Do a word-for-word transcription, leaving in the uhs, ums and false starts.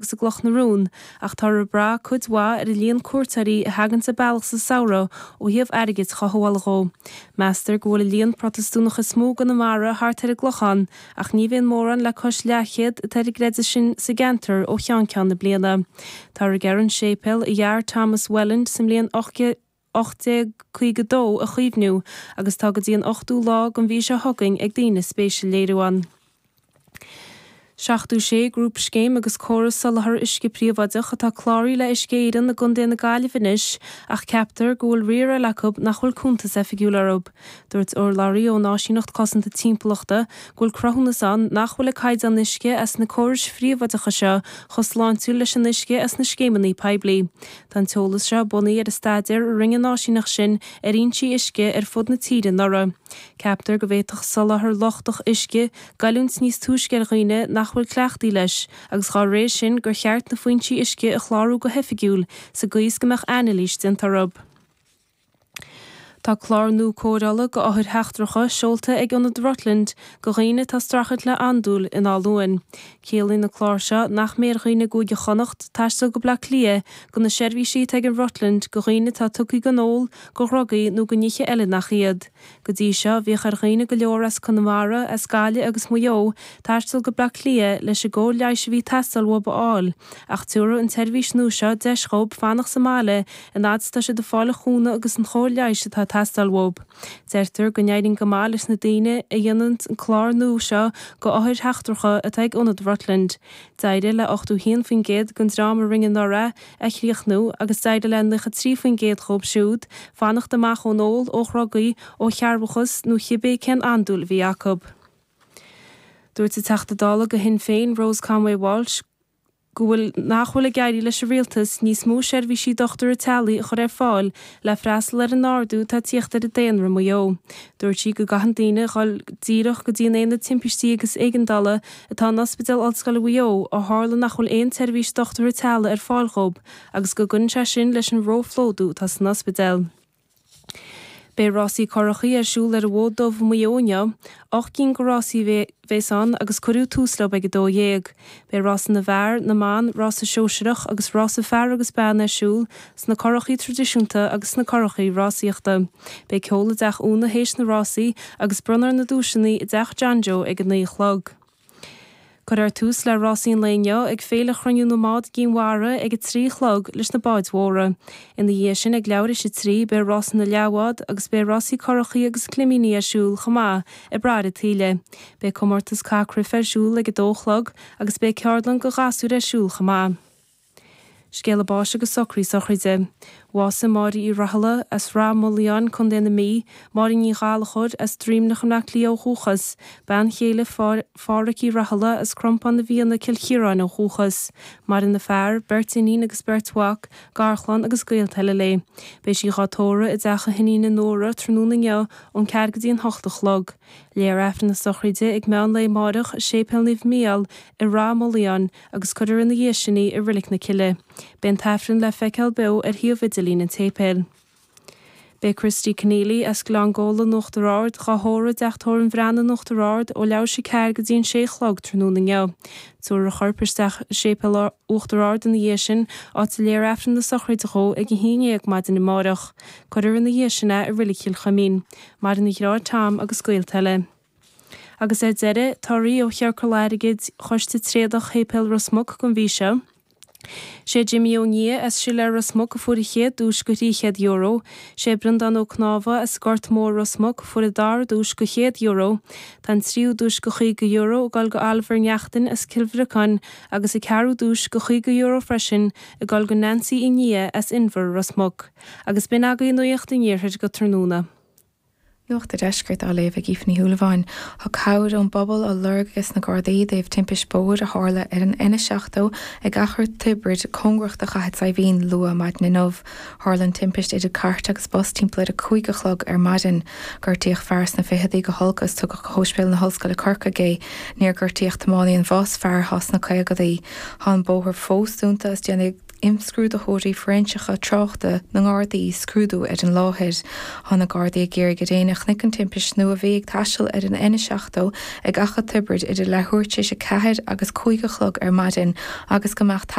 agus i gCloch na Rún, ach táthar ag brath cuid mhaith ar an líon cuairteoirí a thagann an bealach sa samhradh ó thaobh airgid a chothabháil dhó. Meastar go bhfuil an líon Protastúnach is mó i gConamara thart ar an gClochán, ach ní bhíonn mórán le cois leathchéad atá ar an gcreideamh sin sa gceantar ó cheann ceann na bliana. Táthar ag iarraidh an séipéal a dhear Thomas Welland sa mbliain ocht déag caoga dó a chaomhnú agus tá go dtí an ochtú lá den mhí seo chugainn ag daoine spéis a léiriú ann. Seachtó sé grúpscéim agus córas soláthair uisce príobháideach atá cláraithe le Uisce Éireann i gContae na Gaillimhe anois ach ceaptar go bhfuil riar eile acu nach bhfuil cuntas oifigiúil orthu. Dúirt urlabhraí ón Áisíneacht Cosanta Timpeallachta go bhfuil cruthúnas ann nach bhfuil an caighdeán uisce as na córais phríobháideacha seo chomh sláintiúil leis an uisce as na scéimeanna poiblí. Tá an t-eolas seo bunaithe ar an staidéar a rinne an áisíneacht sin ar fhoinsí uisce ar fud na tíre anuraidh. Ceaptar go bhféadfadh soláthar lochtach uisce goilliúint níos túisce ar dhaoine nach bhfuil cleachtaithe leis, agus dá réir sin gur cheart na foinsí uisce a chlárú go hoifigiúil sa gcaoi is go mbeadh anailís déanta orthu. Tá clár nua cóireála go othair sheachtracha seolta ag Ionad Rutland go dhaoine atá ag streachailt le andúil in Áth Luain. Ciallaíonn an clár seo nach mbeidh ar dhaoine i gCúige Chonnacht taisteal go Bleá Cliath go na seirbhísí atá ag an Rutland go dhaoine atá tugtha don ól, go dhrugaí nó go nithe eile nach iad. Go dtí seo bhíodh ar dhaoine go leor as Conamara, as Gaillimh agus Maigh Eo taisteal go Bleá Cliath leis an gcóir leighis a bhí ag teastáil uathu a fháil, ach tabharfaidh an tseirbhís nua seo deis dhóibh fanacht sa mbaile an fhad is atá siad ag fáil an chúnamh agus an chóir leighis atá ag teastáil uathu. Deirtear go n-éiríonn go maith leis na daoine a dhéanann an clár nua seo go othair sheachtracha atá ag Ionad Rutland. D'éirigh le ochtó haon faoin gcéad den dream a rinne anuraidh é a chríochnú agus d'éirigh le nócha trí faoin gcéad dhóibh siúd fanacht amach ón ól, ó dhrugaí, ó chearrbhachas nó cibé cén andúil a bhí acu. Dúirt an Teachta Dála go Shinn Féin Rose Conway Walsh go bhfuil nach bhfuil ag éirí leis an rialtas níos mó seirbhísí dochtúra teaghlaigh a chur ar fáil le freastal ar an ardú atá ag tíocht ar an daonra i Maigh Eo. Dúirt sí go gcaitheann daoine dhul díreach go dtí an aonad timpistí agus éigeandála atá in Ospidéal Ollscoile Mhaigh Eo ó tharla nach bhfuil aon tseirbhís dochtúra teaghlaigh ar fáil dhóibh agus go gcuireann sé sin leis an róphlódú atá san ospidéal. Beidh rásaí curachaí ar siúl ar an bhFód Dubh i Maigh Eo inniu. Ocht gcinn de rásaí a bheas ann agus cuireadh tús leo ag a dó dhéag. Beidh rása na bhfear, na mban, rása sóisearach agus rása fear agus bean ar siúl sna curachaí traidisiúnta agus sna curachaí rásaíochta. Beidh ceol i dTeach Úna théis na rásaí agus bronnfar na duaiseanna i dTeach John Joe ag a naoi a chlog. Cuirfear tús le rásaí an lae inniu ag Féile Chruinniú na mBád i gCinn Mhara ag a trí a chlog leis na báid mhóra. Ina dhiaidh sin ag leathuair théis a trí beidh rása na leathbhád agus beidh rásaí curachaí agus climíní ar siúl chomh maith ag Bradhair an tSaoile. Beidh comórtas cath cruife ar siúl ag a dó a chlog agus beidh ceardlann go ghasúir ar siúl chomh maith. Scéala báis agus socraí sochraide. Bhásaigh Máire Uí Rathaille as Rath Moliain, Contae na Mí, Máire Ní Ghallchóir as Droimneach i mBleá Cliath ó dhúchas, bean chéile Phádhraic Uí Rathaille as Crompán na bhFianna, Cill Chiaráin ó dhúchas. Maireann a fear, beirt iníon agus beirt mhac, garchlann agus gaolta eile léi. Beidh sí dhá tórramh i dteach a hiníne Nóra tráthnóna inniu ón ceathair go dtí an hocht a chlog. Léifear Aifreann na sochraide ag meán lae amáireach i Séipéal Naomh Mícheál i Rath Moliain agus cuirfear ina dhiaidh sin í i Reilig na Cille. Beidh an t-aifreann le feiceáil beo ar shuíomh idirlín an tséipéil. Beidh Christy Conneely as Gleann Gabhla in Uachtar Ard dhá thórramh i dTeach Tórraimh an Bhreathnaigh in Uachtar Ard ó leathuair théis a ceathair go dtí an sé a chlog tráthnóna inniu. Tabharfar a chorp isteach i Séipéal Uachtar Ard ina dhiaidh sin, áit a léifear Aifreann na sochraide dhó ag a haon dhéag maidin amáireach. Cuirfear ina dhiaidh sin é i Reilig Chill Chuimín. Maireann a dheartháir Tom agus gaolta eile. Agus ar deireadh, torthaí ó Chiorcal Airgid Choiste Tréadach Shéipéal Ros Muc don mhí seo. Sé Jimmy Ó Nia as Siléar Ros Muc a fuair an chéad duais go thrí chéad euro. Sé Breandán Ó Cnámha as Gort Mór Ros Muc a fuair an dara duais go chéad euro. Tá an tríú duais go chaoga euro ag dul go Oliver Neachtain as Cill Bhriocáin agus an ceathrú duais go chaoga euro freisin ag dul go Nancy Uí Nia as Inbhear Ros Muc. Agus b'in agaibh nuacht an iarthair go tráthnóna. Nuacht an Deiscirt á léamh ag Aoife Ní Shúilleabháin. Tá cabhair ón bpobal á lorg ag na Gardaí i dtaobh timpist bóthair a tharla ar an N a seachtó ag Achar Tiobraid cóngarach do Chathair Saidhbhín luath maidin inniu. Tharla an timpist idir cairt agus bus timpeall ar a cúig a chlog ar maidin. Gortaíodh fear sna ficheadaí go holc agus tugadh go hOspidéal na hOllscoile Corcaigh é. Níor gortaíodh tiománaí an bhus, fear atá sna caogadaí. Tá an bóthar fós dúnta agus déanfaidh. imscrúdaitheoirí fóiréinseacha tráchta na nGardaí scrúdú ar an láthair. Tá na Gardaí ag iarraidh ar éinne a chonaic an timpist nó a bhí ag taisteal ar an N seachtó ag Achadh Tiobraid idir leathuair tar éis a ceathair agus cúig a chlog ar maidin agus go mbeadh